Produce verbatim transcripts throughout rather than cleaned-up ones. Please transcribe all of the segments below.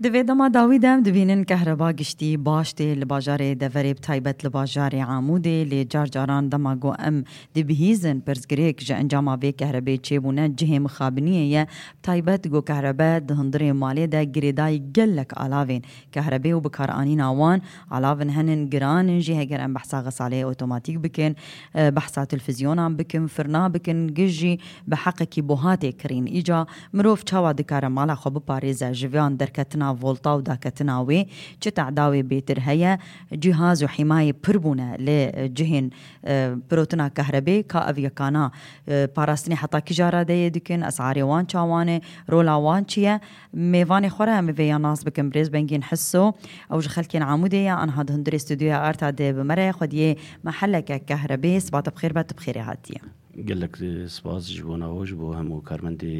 Di vê dema dawî de em dibînin kehreba giştî baş tê li bajarê deverê, bi taybet li bajarê Amûdê, lê car caran dema ku em dibihîzin pirsgirêk ji encama vê kehrebê çêbûne cihê mixabiniyê ye, bi taybet ku kehrebe di hundirê malê de girêdayî gelek alavên kehrebê û bikaranîna wan, alavin henin giran in jî, heger em behsa xesaleyê otomatîk bikin, e, behsa televîzyonan bikin, firna bikin, giş jî bi heqekî buha tê kirîn. Îca mirov çawa dikare mala xwe biparêze ji van derketina volta û daketina wê? Çi tehda wê bêtir heye? Cîhaz û hîmayê pir bûne, lê, e, cihên, e, pirotina kehrebê ka ev yekana, e, parastinê heta kîja radeyê dikin, esarê wan çawan e, rola wan çi ye? Mêvanê xwe re em ê vêya nas bikin. Birêz Bengîn Hiso, ew ji xelkên Amûdê ye, anha di hundirê stûdyoya Arta de bi me re ye. Xwediyê me heleke kehrebê, sibata bi xêr be, tu bi xêrê hatiye. Gelek, e, spas ji bo nava, ji bo hemû karmendê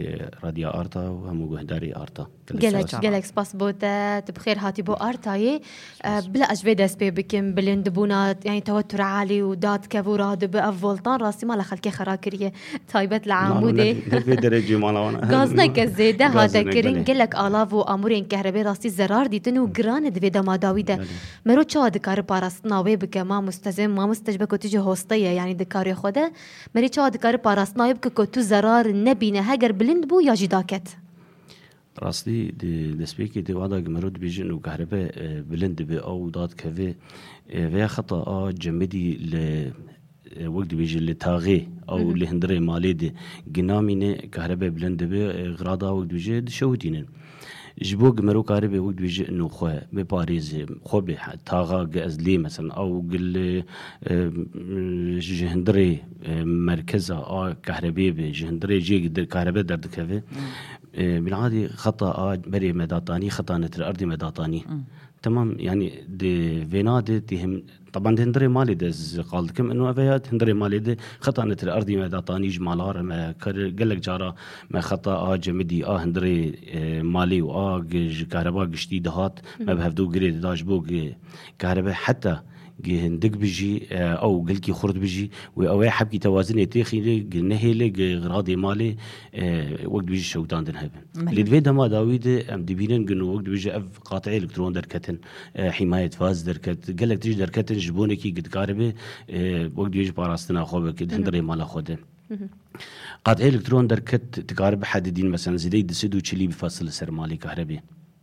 Radya Arta û hemû guhdarê Arta. Gelek Gelek, spas. Gelek spas bo te, tu bi xêr hatî bo Artayê. Spas. E, bila ez vê dest pê bikim, bilindbûna, yani tewetur alî û dadkev û radibe ev voltan rastî mala xelkê xera kiriye. Taybet li Nano, Amûdê. Ne, ne vê derecê mala wan. Gazineke zêde hate Gazinek, kirin, belê. Gelek alav û amûrên kehrebê rastî zerar dîtin û giran e di vê dema dawî de. Belê. Mero çawa dikare parastina wê bike, mamoste, mamoste ji ber ku tu jî hoste ye, yani di karê xwe de. Merê çawa dikare parastina wê bike ku tu zerar nebîne, heger bilind bû ya jî daket? Rastî, di destpêkê de wada ku mero dibêjin û kahrebe, e, bilind dibe, ew dadkeve, e, veya xeta a cemidî li, e, wek dibêje li taxê, ew Hı hı. li hundirê malê de ginamîne, kahrebe bilind dibe, e, xirada wek dibêje dişewitînin. Ji bo ku mero karibe wek dibêje ino xwe biparêze, xwe bê he-, taxa ku ez lê mesela, ew ku li, e, ji hundirê, e, merkeza a kahrebê be, ji hundirê jê der-, kahrebe derdikeve. Hmm. E, binadî xeta a berê me datanî, xeta netir erdî me datanî. Hmm. Temam, yani di vêna de tê him, taban di hundirê malê de ez qal dikim, ino eve ya di hundirê malê de xeta netir erdî me datanî, ji mala re me kar, gelek cara me xeta a cemidî a hundirê, e, malê û a gi-, ji kahreba giştî dihat, me Hı. bi hevdû girê dida ji bo gi-, kahrebe heta gi hindik bijî, e, ew gilkî xurt bijî, wê ew ê hebkî tewazinê têxîne, gi nehêle, gi radê malê, e, wek dibêjî şewitandin hebe. Belê. Lê di vê dema dawî de em dibînin gino wek dibêje ev qatê elektron derketin, e, hîmayet faz derket, gelek tişt derketin ji bonekî gi dikaribe, e, wek dibêje parastina xwe bike, di Hı hı. hundirê mala xwe de. Hı hı. Qatê elektron derket dikare bihedidîn, mesela zêdeyî du sed û çilî bifesil li ser malê kahrebê.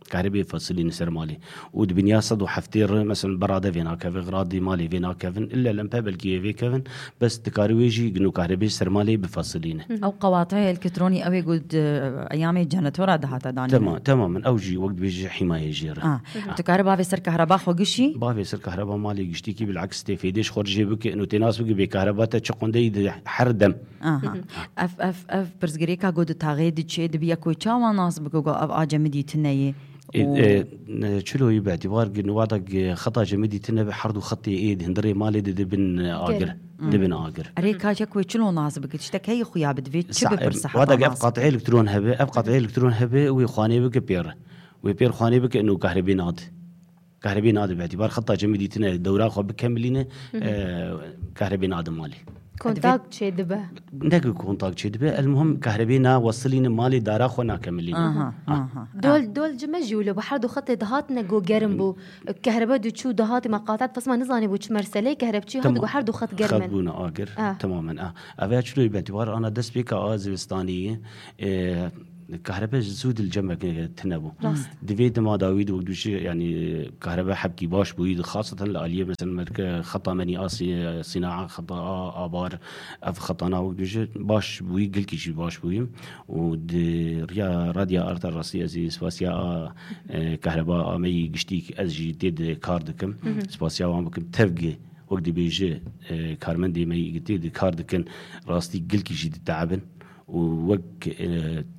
Kahrebê fesilîne ser malê. Û di binya sed û heftê re, mesela berade vê nakeve, radê malê vê nakevin, ille lempe belkî vê kevin, bes dikare wê jî gino kahrebê ser malê bifesilîne. Hı hı. Ew qewatê elektronî ew ê ku di eyamê jenetora dihate danîne. Tema-, temamen, ew jî wek dibêje hîmayê jê re. Ah, Hı hı. tu kare bavê ser kahreba xwe gişî? Bavê ser kahreba malê giştîkî bilaks tê fêdê ji xwe re jê bike, ino tê nas bike bê kahreba te çi qundeyî di her dem. Aha. Hı hı. Ev, ev, ev pirsgirêka ku di taxê diçê, dibiya ku çawa nas bike ku ev a cemidî tune ye? E, Û e, ne, çilo yî bi îtibar ki niwada ki xeta cemidî tune be, her du xetê ê di hundirê malê de dibin, e, agir. Gerin. Hı. Dibin agir. Erê, ka çek wê çilo nas bike? Tiştek heye xuya bi, divê çi Sa-, bipirse wada heta ki ev nas qatê bike? Elektron hebe, ev qatê elektron hebe, wê xwanê bike pêr. Wê pêr xwanê bike, ino kahrebê nade. Kahrebê nade bi îtibar xeta cemidî tune dewra xwe bikemilîne, Hı hı. e, kahrebê nade malê. Kontak çêdibe. Ne ku kontak çêdibe, el muhim kahrebê nawesilîne malê, dara xwe nakemilîne. Aha, Ah. aha. Dol, dol ji me jî wilo bi her du xetê dihatine ku gerim bû. Kehrebe diçû dihatî me qatet, bes me nizanî bû çi merselê, kehreb çî hat Tamam. ku her du xet germ Xet in. bûne agir. Ah. Temamen, ah. Ev ya çilo bi îtibar ana dest pêka a zivistanî, e, Kahrebe ji zû di li cem me tune bû. Rast. Di vê dema dawî de wek dibêje, yanî kahrebe hebkî baş bûyî, xaseten li aliyê mesela merke xeta menî a sî-, sînaa, xeta a abar, ev xetana wek dibêje baş bûyî, gelkî jî baş bûyî. Û di riya Radya Arta rastî ez ê spasiya a, e, kahreba a me yî giştî ez jî tê de kar dikim. Hı hı. Spasiya wan bikim. Tevgê wek dibêje, e, karmendê me yî tê de kar dikin, rastî gelkî jî diteebin. û wek, e,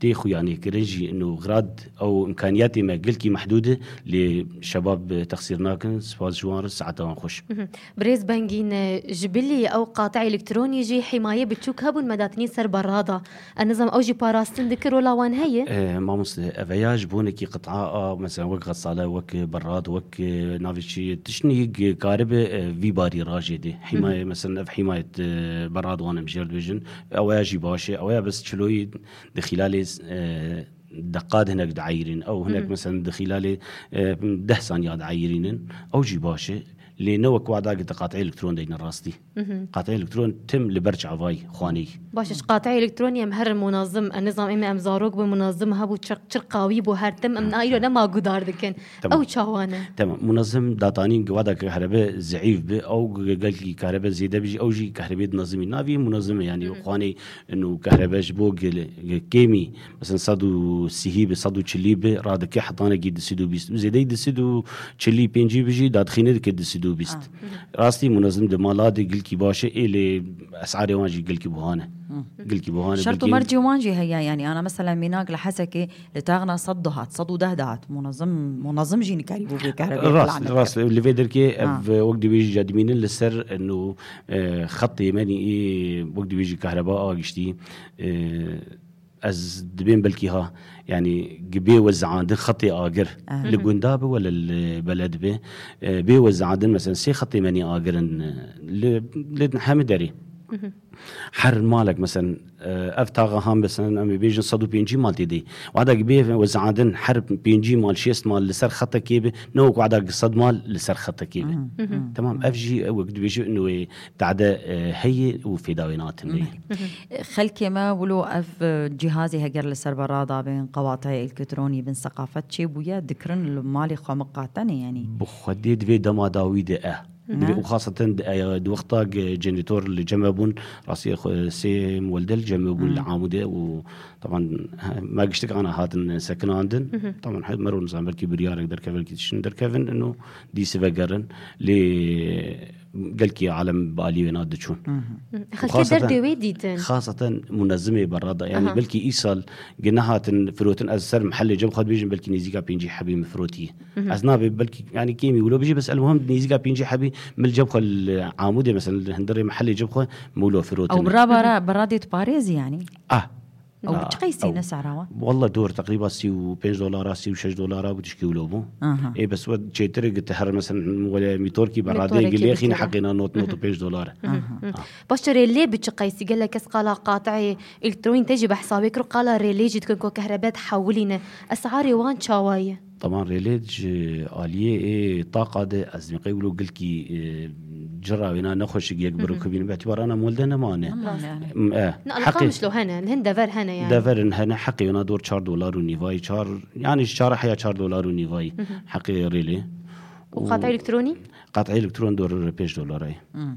tê xuyanê kirin jî, ino xirad ew imkaniyatê me gelkî mehdûd e, lê şebab, e, texsîr nakin, spas ji wan re, saeta wan xweş. Mhm. Birêz Bengîn, e, ji bilî ew qatê elektronî jî hîmayê biçûk hebûn me datinî ser berrada. Ez nizam ew jî parastin dikir, rola wan heye? E, mamoste, ev ya ji bonekî qit'a a, mesela wek xesale, wek berrad, wek, e, navê çi, tiştnî karibe, e, vî barî rajê dê. Hîmayê, Hı hı. mesela ev hîmayet, e, berrad wan em jêr dibêjin. Ew ya jî baş e. Ew ya bes çiloyî di xîlalê, e, deqat hinek dieyirîn. Ew hinek, Hı hı. mesela di xîlalê, e, deh saniya dieyirînin. Ew jî baş e. Lê ne wek wada ki te qatê elektron deyne rastî. Hı hı. Qatê elektron tim li ber çavayî xwaneyî. Baş e, ji qatê elektronî em her munazim, em nizam êm em zarok bû munazim hebû çir, çir qawî bû her tim, em Hı. îro nema gudar dikin. Tamam. Ew çawa ne? Tamam. Munazim datanîn ki wada ki kahrebe zeîf bi, ew ge-, gelkî kahrebe zêde bi jî, ew jî kahrebê dinazimî. Navî munazim e, yani Hı hı. xwanê û kahrebe ji bo gel-, ge-, kêmî, mesela sed û sî bi, sed û çilî bi, radike hetanekî du sed û bîst. Zêdeyî du sed û çilî pêncî bi jî dadixîne dike du sed û bîst. Ah. Hı hı. Rastî munazim di mala de gilkî baş e, ê lê esarê wan jî gilkî buha ne. Hı. Gilkî buha ne, Şert û belkî mercê wan jî heye, yani ana mesela mînak li Hesekê li taxna sed dihat, sed û deh dihat. Munazim, munazim jî nikarî bû bê kahrebe Rast, plan bike. Rast. Li vê derkê Ha. ev, wek dibêjî, ca dimînin li ser, eno, e, xetê me nî, wek dibêjî kahreba a giştî, e, ez dibêm belkî ha, yani, gi bê wezandin xetê agir. Aha. Li gunda bi wele li beled bi, e, bê wezandin, mesela, sê xetê me nî agir in, e, li, li hemî derê. Mhm. Her malek, mesela, e, ev taxa han, mesela, em ê bêjin sed û pêncî mal tê de. Wada gi bê wezandin her pêncî mal, şêst mal li ser xetekê bi, ne wek wada gi sed mal li ser xetekê bi. Mhm. Mhm. Tamam, ev jî, e, wek dibêjin, wê tade, e, heye û fêda wê natin lê. Xelkê me wilo ev, e, cîhazê heger li ser be radabin, qewataya elektronî bin, seqafet çêbûye, dikirin li malê xwe miqatene, yanî. Bi xwedê di vê dema dawî de e. Di vê Ne? û xaseten di, e, di wexta ge-, generator li cem me bûn, rastî xwe sê miwelde li cem me bûn li Hmm. Amûdê û taban, he, me giştik ana hatin sekinandin. Mhm. Taban, he, mero nizam belkî biryarek derkeve, belkî tiştin derkevin, ino dîsî vegerin. Lê gelkî alem bi alî wê na diçûn. Mhm. Hı. Û Xelkê xaseten, derdê wê dîtin. Xaseten munezimê berada. Yani Aha. belkî îsal gi nehatin firotin, ez ser mihellê cem xwe dibêjim, belkî nêzîka pêncî hebî min firotî. Mhm. Ez nabê belkî, yani kêmî wilo bijî, bes elmuhim nêzîka pêncî hebî min li cem xwe li Amûdê, mesela li hundirê mihellê cem xwe min wilo firotin. Ew bira bara, bira dê diparêzî yani? Ah. Ew Ah, çi qeysî ew. ne sehra wa? Wallah dor, teqrîba sî û pênc dolara, sî û şeş dolara bû, tişkî wilo bû. Aha. Ê, bes we çêtir e, gi te her, mesela, wele mîtorkî be radeyê Mîtorekî gilê xîne bigire. heqê na not, not û pênc dolar e. Aha. Hı. Ah. Baş e, rêlê bi çi qeysî? Gelek kes qala qateyê elektronî te jî behsa wê kir, qala rêlê jî dikin ku kahrebe dihewilîne. Esarê wan çawa ye? Taban rêlê ji aliyê ê taqa de ez dibînim qey wilo gilkî, e, cira wêna nexweşik yek biro Hı hı. kubînin. Bi îtibara na molde nemane. Nemane yani. M-, e, Ne, heqê Qamişlo hene, hin dever hene yani. Deverin hene, heqê wêna dor çar dolar û nîvayî, çar, yani ji çar heya çar dolar û nîvayî Hı hı. heqê rêlê. Û Û qateyê elektronî? Qateyê elektron dor pênc dolar e. Hmm.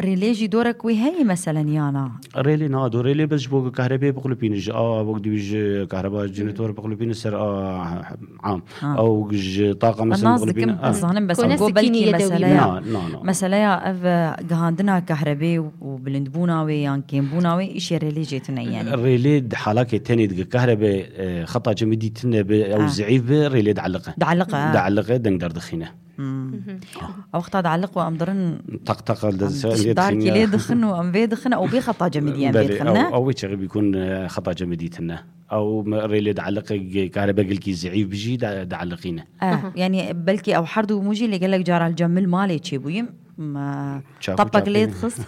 Rêlê jî dorek wê heye meselen yana? Rêlê na, do rêlê bes ji bo kahrebê bixulipînin, ji a wek dibî ji kahreba jenetor bixulipînin ser a am. Ha. Ew ji taqa Em mesela nas bixulipînin, dikim, ha. ez zanim bes Kone ew go sikînî belkî ye dewî meseleya, Na, na, na. meseleya ev, e, gihandina kahrebê û bilindbûna wê yan kêmbûna wê îşê rêlê jê tune yani. Rêlê di halakê tenê dike kahrebe, e, xeta cemidî tune be, ew Ha. zeîf be, rêlê dieliqe. Dieliqe, ha. Dieliqe, deng derdixîne. Hmm. Mhm. Ew wexta dieliq û em dirin Taq taq em de se-, tişt lê darkî dixin lê ya. dixin û em vê dixin, ew bê xeta cemidî em vê Belê, dixin, ew, ne? ew wê çaxê bîkun, e, xeta cemidî tune. Ew me rêlê dieliqe, ge-, kahrebegilkî zeîf bijî de, dieliqîne. Eh, Aha. yani belkî ew her du mû jî lê gelek cara li cem min malê çêbûyî. Ma Çaku tapek çaku. lê dixist.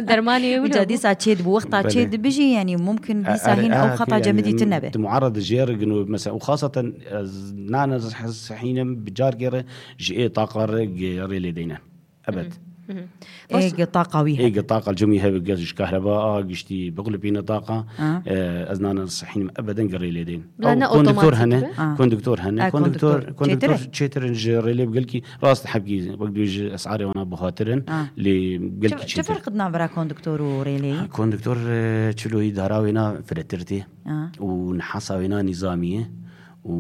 Dermanê wilo Îca bû. dîsa çê dibû, wexta Belê. çê dibijî, yani mumkin E, dîsa erê, hîn ew e, xeta yani cemidî tune be. Di muarada jê re gino, mesela, û xaseten ez nane sehînim bi carkê re ji ê taqa re ge-, rê lê deyne. Ebed. Mhm, mhm. Ê Baş ge taqa wî Ê hebe. ge taqa cemî hebe ge ji kahreba a giştî bixulipîne taqa. Ha. E, ez nane sehînim ebeden ge rê lê deyn. Bila Ew ne konduktor otomatik hene, be? Ah. konduktor hene, Ah, konduktor, konduktor. konduktor Çêtir e? çêtir in ji rêlê bi gelkî rast hebkî, wek dibêjî esarê wana buhatir in, Ah. lê gelkî Çi, çi çêtir. ferq dina vera konduktor û rêleyî? Ha, konduktor, e, çiloyî dara wêna firetir tê Ah. û nihasa wêna nîzamî ye û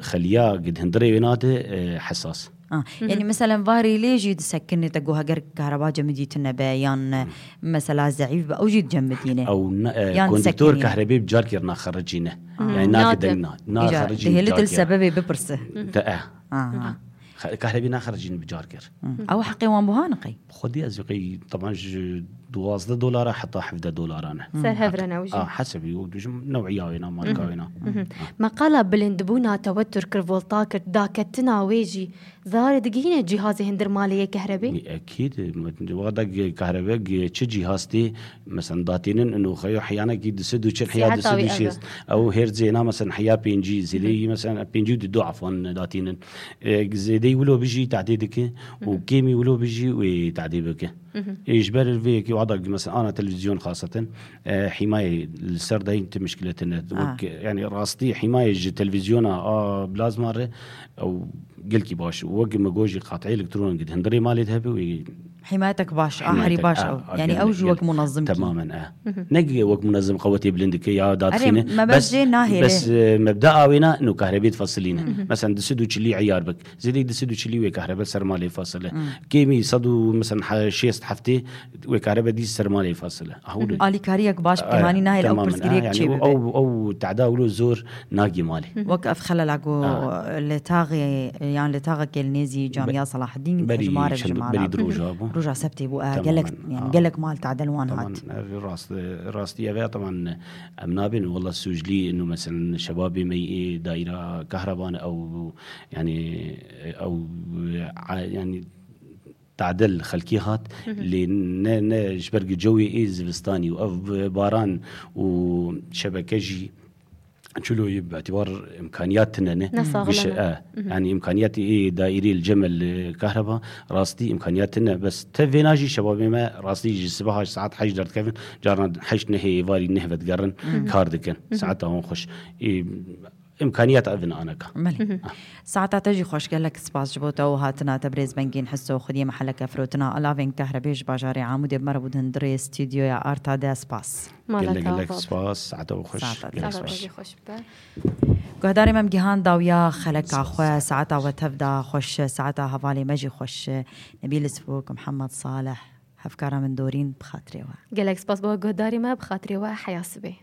xeliya gid hundirê wêna de, e, hesas. Ah. Hı hı. Yani mesela va rêlê jî disekine te got heger kahreba cemidî tune be yan, e, Hı. mesela zeîf be, ew jî dicemidîne. Ew ne, e, Yan konduktor disekiniye. kahrebê bi carkê re naxericîne. Hı. Yani nake Nade. deng na, Îca naxericîne dihêli dil carkê re. sebebê bipirse. Te, e. Aha. Xe- Kahrebî naxercîn bi car kir. Ew heqê wan buha niqey. Xwedî ez qey teban ji duwazdeh dolara heta hevdeh dolara ne. Ser hev re ne ew jî. Ah, hesebî û dijim new'iya wêna, marka wêna. Meqala bilindbûna tewetur kir, volta kir, daketina wê jî zarê digihîne cîhazê hindir malê yê kehrebê? Ekîd, wada kahrebe çi cîhaz tê, mesela datînin û xeyo hiyanekî di sed û çil hiya di sed û şêst. Ew her zêna mesela hiya pêncî, zêdeyî mesela pêncî û du afan datînin. E, zêdeyî wilo bijî tadê dike û kêmî wilo bijî wê tadê bike. Ê ji ber vê yekê wada mesela ana televîzyon xasatin, e, hîmayê li ser dayîn ti mişkile tine. Wek, yani rastî hîmayê ji televîzyona a plazma re ew gelkî baş. Wek me gojî qatî elektron gid hindirê malê de hebe wê Himayetek baş, a herî baş ew. Yani ew jî wek munezim kî. Temamen e. Ne ki wek munezim qewetê bilind dike ya dadxîne. Mebest jê nahêle. Bes, e, mebda awêna no kahrebê difasilîne. Mesela di sed û çilî eyar bik. Zêdeyî di sed û çilî wê kahrebe ser malê fasile. Kêmî sed û mesela şêst heftê wê kahrebe dî ser malê fasile. Ahûdin. Alîkariyek baş pêhanî nahêle ew pirsgirêk çê bibe. Ew, ew tehda wilo zor nagî malê. Wek ev xelela ku li taxê, yan li taxekê li nêzî camiya Selahaddîn hejmare bijimana. Berî di roja bû. Roja sebtê bû, e, gelek, yani gelek mal tadel wan hat. Ev rast, rastî ev e, teman em nabên, wela sûclî inu, mesela şebabê me yê daîra kahreban ew, yani ew, a, yani tadel xelkî hat, lê ne, ne ji ber ku cewê ê zivistanî û ev baran û şebeke jî çilo yê bi îtibar imkaniyat tine ne. Ne saxlem e. Yani imkaniyatê ê daîrê li cem el kahreba rastî imkaniyat tine. Bes te vêna jî şebabê me rastî ji sibeha ji saet heşt derdikevin, caran heşt nehê êvarî neh vedigerin kar dikin. Saeta wan xweş. Ê, imkaniyat ev in aneka. Belê. Saeta te jî xweş, gelek spas ji bo te û hatina te birêz Bengîn Hiso, xwediyê meheleke firotina alavên kahrebê ji bajarê Amûdê bi me re bû di hundirê stûdyoya Arta de. Spas. Gelek gelek spas. Saeta we xweş. Saeta te xweş. Guhdarê me, em gihan dawiya xeleka xwe, saeta we tev da xweş, saeta hevalê me jî xweş. Nebîl Sifok, Mihemed Salih, hevkara min dorîn bi xatirê we. Gelek spas bo guhdarî me, bi xatirê we, heya sibê.